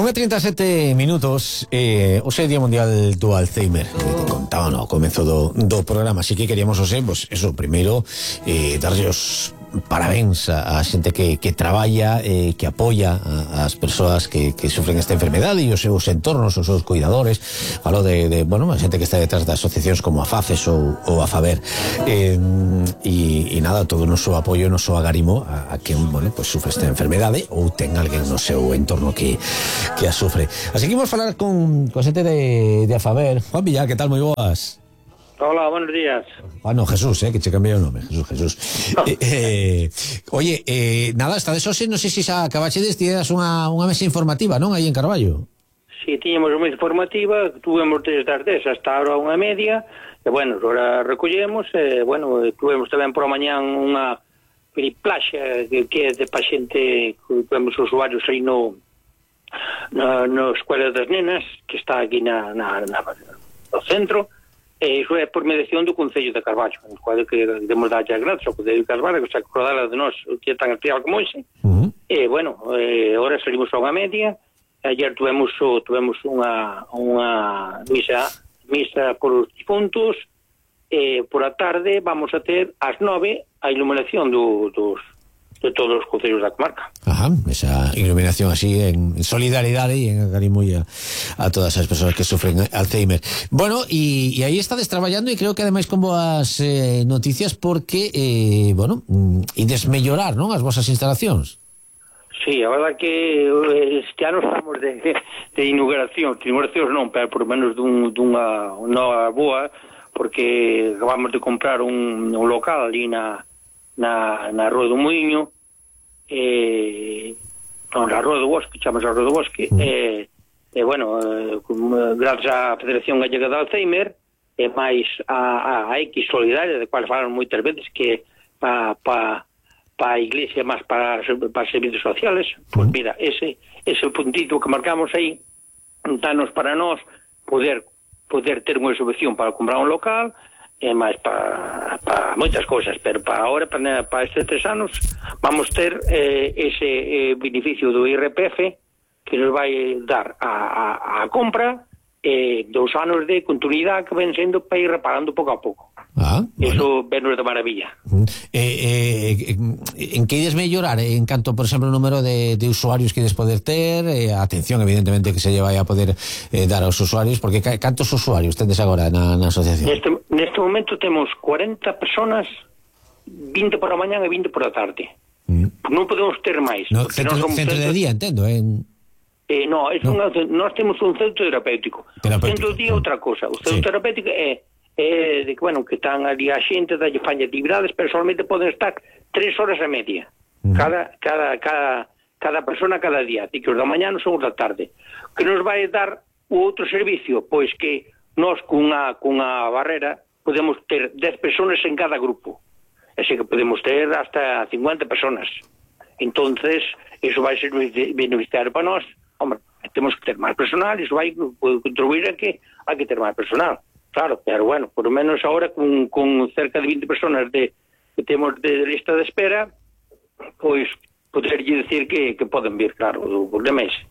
1:37 hoxe é Día Mundial do Alzheimer. Contaba no comezo do programa, así que queríamos hoxe, pues eso, primeiro darlle os parabéns a xente que traballa, que apoia as persoas que sufren esta enfermedade e os seus entornos, os seus cuidadores. Falo de a xente que está detrás de asociacións como a FACES ou a FABER, e nada, todo o noso apoio, o noso agarimo a quen, pues sufre esta enfermedade ou ten alguén no seu entorno que a sufre. Así que imos falar con xente de a FABER. Juan Villar, que tal? Moi boas. Hola, buenos días. No, Jesús, que che cambiei o nome, Jesús. Oye, nada, esta de hoxe, non sei se xa acabaxedes, tidas unha mesa informativa, non, aí en Carballo? Sí, tiñamos unha mesa informativa, tuvemos desde as 10 hasta ahora 1:30, e bueno, agora recollemos, tuvemos tamén por a mañán unha periplaxa que é de paciente, tuvemos usuarios aí no Escuela das Nenas, que está aquí no centro. Iso é por mediación do Concello de Carballo, en cual que demos darlle as gracias ao Concello de Carballo, que se acordara de nós que é tan especial como ese. Ahora salimos a 1:30. Ayer tuvemos unha misa por os difuntos. Por a tarde vamos a ter ás 9 a iluminación de todos os concellos da comarca. Esa iluminación así en solidaridade e en agarimo a todas as persoas que sufren Alzheimer. Bueno, e aí estades traballando e creo que ademais con boas noticias porque, ides mellorar, non, as vosas instalacións. Sí, a verdad que este ano estamos de inauguracións non, pero por menos dunha boa, porque acabamos de comprar un local ali na Rúa do Muiño, na Rúa do Bosque, chamamos a Rúa do Bosque, gracias á Federación Gallega de Alzheimer, e máis a X Solidaria, de cual falaron moitas veces, que para a Iglesia, máis para servicios sociales. Pois mira, ese puntito que marcamos aí, danos para nós poder ter unha subvención para comprar un local, e máis para moitas cousas, pero para ahora, para estes 3 anos, vamos ter ese beneficio do IRPF que nos vai dar a compra, 2 anos de continuidade que ven sendo para ir reparando pouco a pouco. Eso venos de maravilla. En que ides mellorar? En canto, por exemplo, o número de usuarios que ides poder ter, a atención, evidentemente, que se lle vai a poder dar aos usuarios, porque cantos usuarios tendes agora na asociación? Neste momento temos 40 personas, 20 por a mañán e 20 por a tarde. Non podemos ter máis. Centro de día, entendo, nós temos un centro terapéutico. O centro de día é outra cosa. O centro terapéutico é de que están ali a xente, dalle fan actividades, pero solamente poden estar 3 horas e media. Cada persona cada día. Así que os da mañá son os da tarde. Que nos vai dar o outro servicio? Pois que nós cunha barrera podemos ter 10 personas en cada grupo. Así que podemos ter hasta 50 personas. Entonces, eso vai ser beneficiario para nós. Hombre, temos que ter máis personal, iso vai contribuir a que hai que ter máis personal. Claro, pero bueno, por lo menos ahora con cerca de 20 personas que temos de lista de espera, pois poderlle decir que poden vir, claro, o problema é ese.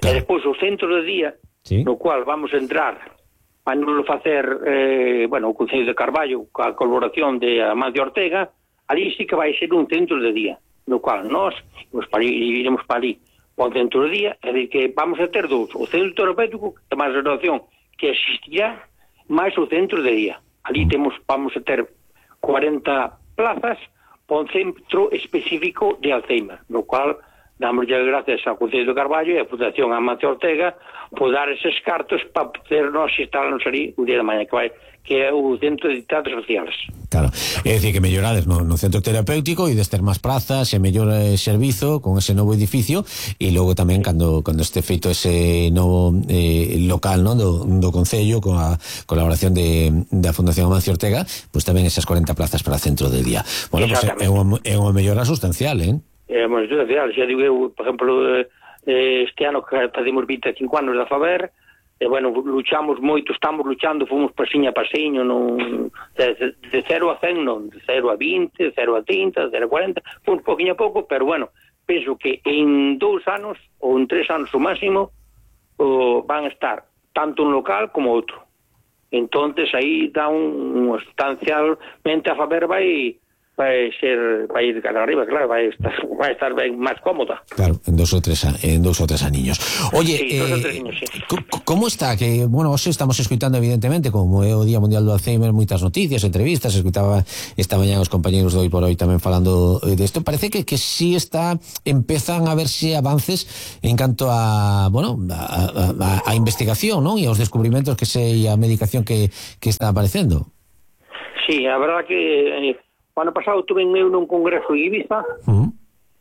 E despois o centro de día, no cual vamos a entrar, vai nos facer o Concello de Carballo, coa colaboración de Amancio Ortega, ali sí que vai ser un centro de día, no cual nós iremos para ali ao centro de día, é dicir, que vamos a ter dous, o centro terapéutico, que é máis relación que existirá, máis o centro de día. Ali vamos a ter 40 plazas para un centro específico de Alzheimer, no cual damos ya gracias ao Concello de Carballo e a Fundación Amancio Ortega por dar eses cartos para podernos instalarnos ali o día de mañá, que é o centro de ditados sociales. Claro, é dicir que mellorades no centro terapéutico e des ter máis prazas e mellor servizo con ese novo edificio, e logo tamén cando este feito ese novo local, non, do Concello, con a colaboración da Fundación Amancio Ortega, pois tamén esas 40 plazas para centro de día. Bueno, pois é unha mellora sustancial, É unha sustancial, xa digo eu, por exemplo, este ano que facemos 25 anos da FABER, luchamos moito, estamos luchando, fomos pasiño a pasiño, de 0 a 100 non, de 0 a 20, de 0 a 30, de 0 a 40, fomos poquinho a pouco, pero penso que en 2 anos ou en 3 anos o máximo van a estar tanto un local como outro. Entonces aí dá sustancialmente a Faber vai ir cara arriba, claro, vai estar ben máis cómoda. Claro, en dos o tres aniños. Oye, sí, 2 ou 3 años, sí. ¿Cómo está? Que, bueno, hoxe estamos escuitando evidentemente, como é o Día Mundial do Alzheimer, moitas noticias, entrevistas, escuitaba esta mañá os compañeros de Hoy por Hoy tamén falando de isto. Parece que sí empezan a verse avances en canto a, bueno, a investigación, ¿no? E aos descubrimentos e a medicación que está aparecendo. Sí, a verdad que o ano pasado tuve eu nun congreso en Ibiza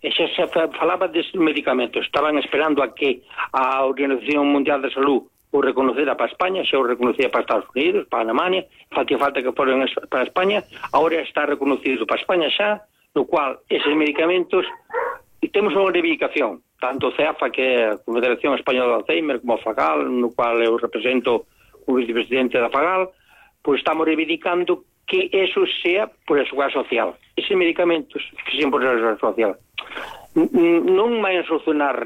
e xa se falaba destes medicamentos. Estaban esperando a que a Organización Mundial de Salud o reconocera para España, xa o reconocía para Estados Unidos, para Alemania, falta que foran para España, agora está reconocido para España xa, no cual eses medicamentos, e temos unha reivindicación, tanto o CEAFA, que é a Confederación Española de Alzheimer, como a FAGAL, no cual eu represento o vicepresidente da FAGAL, pois estamos reivindicando que eso sea por a seguridade social. Eses medicamentos que sean por a seguridade social non vai a solucionar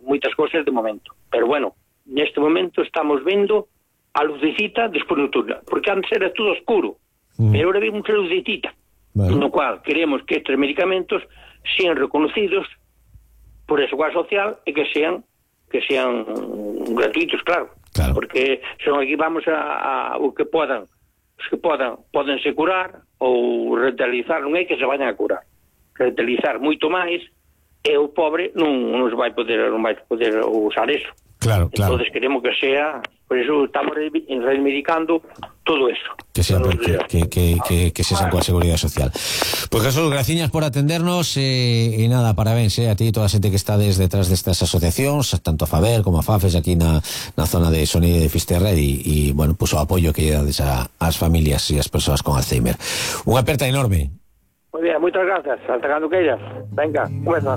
moitas cousas de momento, pero bueno, neste momento estamos vendo a lucecita despois nocturna, porque antes era todo oscuro, pero ahora vemos a lucecita, no cual queremos que estes medicamentos sean reconocidos por a seguridade social e que sean gratuitos, claro. Porque son aquí vamos a o que podan, os que podense curar ou rentabilizar, non é que se vayan a curar, rentabilizar moito máis, e o pobre non vai poder usar eso. Claro. Entonces queremos que sea, por eso estamos reivindicando todo eso. Que sea que se coa seguridade social. Pois Jesús, graciñas por atendernos e nada, parabéns a ti e toda a xente que está detrás destas asociacións, tanto a Faber como a FAFES aquí na zona de Sonide de Fisterra e bueno, pues o apoio que dades ás familias e ás persoas con Alzheimer. Unha aperta enorme. Moi bien, moitas grazas. Hasta cando queiras. Venga, comeza.